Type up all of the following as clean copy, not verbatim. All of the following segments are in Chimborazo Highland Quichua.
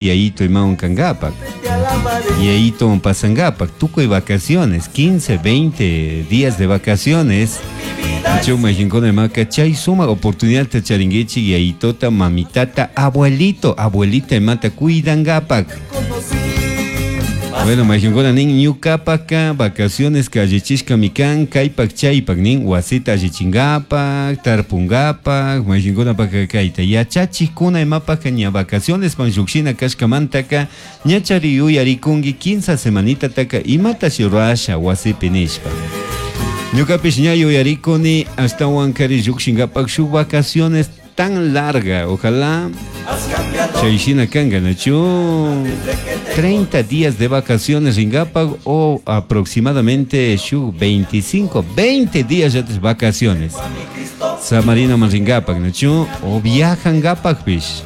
Yayito imawan kangapak. Yayito pasangapak. Tukuy vacaciones, 15, 20 días de vacaciones. Chuma jinkuna imaka chay suma oportunidad charinguichi yayitota, mamitata, abuelito, abuelita imata cuidangapak. Bueno, majinkuna nin ñukapaka vacaciones kallichishkami kan kaypak chaypak nin wasita allichingapak, tarpungapak, majinkunapaka kayta yachachikuna imapaka ña vacaciones pan llukshina kashkamantaka ñachari yuyarikunki 15 semanitataka imatashi rurasha wasipi nishpa. Ñukapish ña yuyarikuni ashtawan kari llukshingapak shuk vacaciones tan larga, ojalá chayshina kanka, ¿nachu? 30 días de vacaciones ringapak o aproximadamente shuk 25, 20 días ya de vacaciones. Samarina man ringapak, ¿nachu? O viajangapakpish.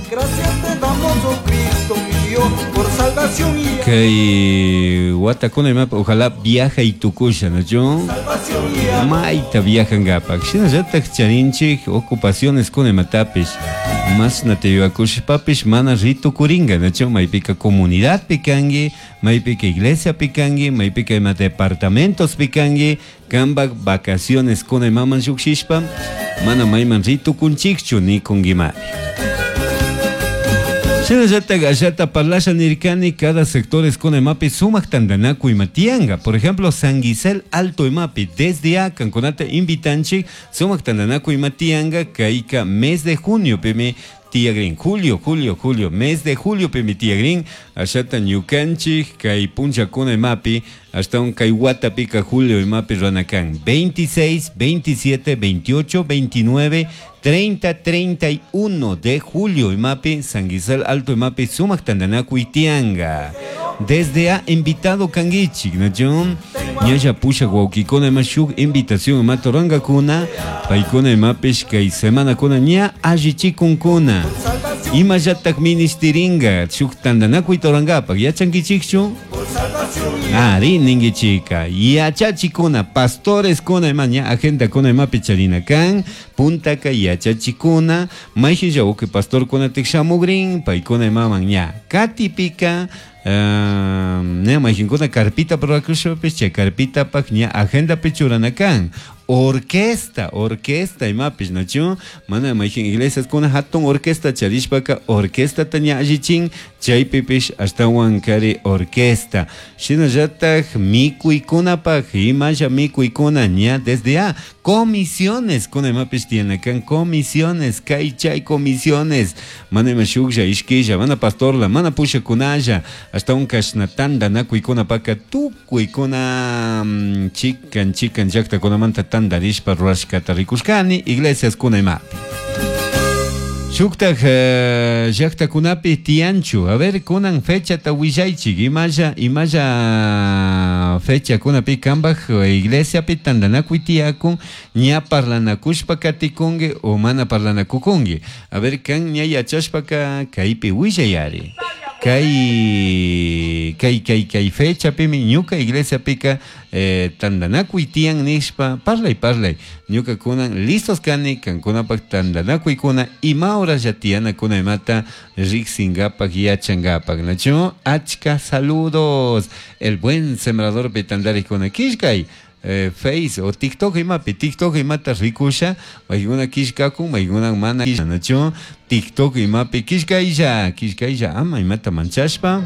Gracias te damos, oh Cristo mío, por salvación y Kay watakuna imapa ojalá viaja y tukusha, ¿nachu? salvación y amor. Mayta viajangapak. Shinallatak charinchik ocupaciones kuna imatapish. Mashna tiyuakushpapish mana ritukuringa, ¿nachu? Maypika comunidadpi kanki, maypika iglesiapi kanki, maypika ima departamentospi kanki, kanpak vacaciones kuna imaman llukshishpa, mana mayman ritukunchikchu nikunkimari. Shinallatak ashata parlasha nirkani cada sector kuna imapi sumak tantanakuy ima tiyanka. Por ejemplo, San Gisel Alto imapi desde a kankunata invitanchik sumak tantanakuy ima tiyanka kayka mes de junio pimi tiyagrin. Julio, julio, julio, mes de julio pimi tiyagrin. Ashata ñukanchik kay punchakuna imapi hasta un kay watapika julio imapi ranakan. 26, 27, 28, 29, 30, 31 de julio imapi San Gisel Alto imapi sumak tantanakuy tianga. Desde a invitado kangichik, ¿no? Ñalla pusha wawkikuna ima shuk invitación ima torangakuna, paykuna imapish kay semanakuna ña allichikunkuna. Imallatak ministeringa shuk tantanakuy torangapak, yachankichikchu? Ari ningichika, yachachikuna, pastores kuna ima ña agenda kuna imapi charina kan, puntaka yachachikuna, mayhin uki pastor kuna tikshamugrin, paykuna imaman ña katipika, ña mayhinkuna carpita rurakushpapis chay carpitapak ña agendapi churana kan. Orquesta, orquesta imapish, ¿nachu? Mana mayhin iglesias kuna hatun orquesta charishpaka orquestata ña allichin, chaypipish ashtawan kari orquesta. Shinallatak mikuykunapak, imalla mikuykuna ña desde a comisiones kuna imapish tiyanakan comisiones, kay chay comisiones. Mana ima shuklla, ishkilla, mana pastorla, mana pushakunalla, ashtawan kashna tantanakuykunapaka tukuykuna, chikan, chikan llaktakunamanta tantarishpa rurashkata rikushkani iglesias kuna imapi. Shuktak, llaktakunapi tiyanchu. A ver, kunan fechata willaychik, imalla, imalla fecha kunapi kanpak iglesiapi tantanakuy tiyakun, ña parlanakushpa katikunki o mana parlanakukunki. A ver, kan ña yachashpaka kaypi willayari. Kay, kay, kay, kay fechapimi ñuka iglesiapika, tantanakuy tiyan nishpa, parlay, parlay. Ñuka kunan listos kani, kankunapak tantanakuykuna, ima horaslla tiyanakuna imata riksingapak yachangapak. Nachu, achka saludos. El buen sembrador pitandarikuna kishkay. Face o TikTok imapi, TikTok imata rikusha, maykuna kishkakun, maykuna mana kishka, nachu, TikTok imapi kishkaylla, kishkaylla, ama imata manchashpa.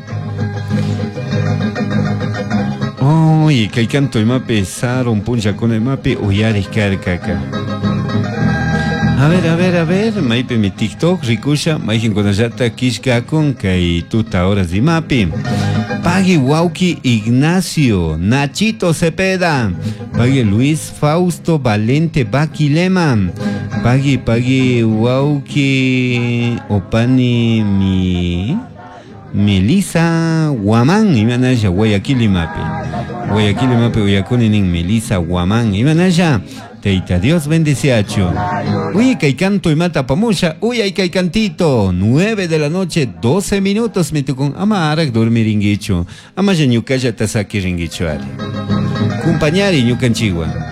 Uy, kay canto imapi, sarun punchakuna imapi, uyarik karkaka. A ver, a ver, a ver, maypi mi TikTok rikusha, mayhinkunallata kishkakun, kay tuta horas imapi. Pagui Wauki Ignacio, Nachito Cepeda, Pagui Luis Fausto Valente Baquilema, Pagui, Pagui Wauki Opani mi Melissa Guamán, imanaya Guayaquil imapi. Guayaquil imapi uyakuni nin Melissa Guamán, imanaya. Teita Dios bendeciacho. Uy, kay canto y mata pamusha. Uy, ay, kay cantito. 9 de la noche, 12 minutos. Me tocó amarak dormir ringuicho. Ama ya ñucaya tasaki ringuicho ari. Compañari ñucanchigua.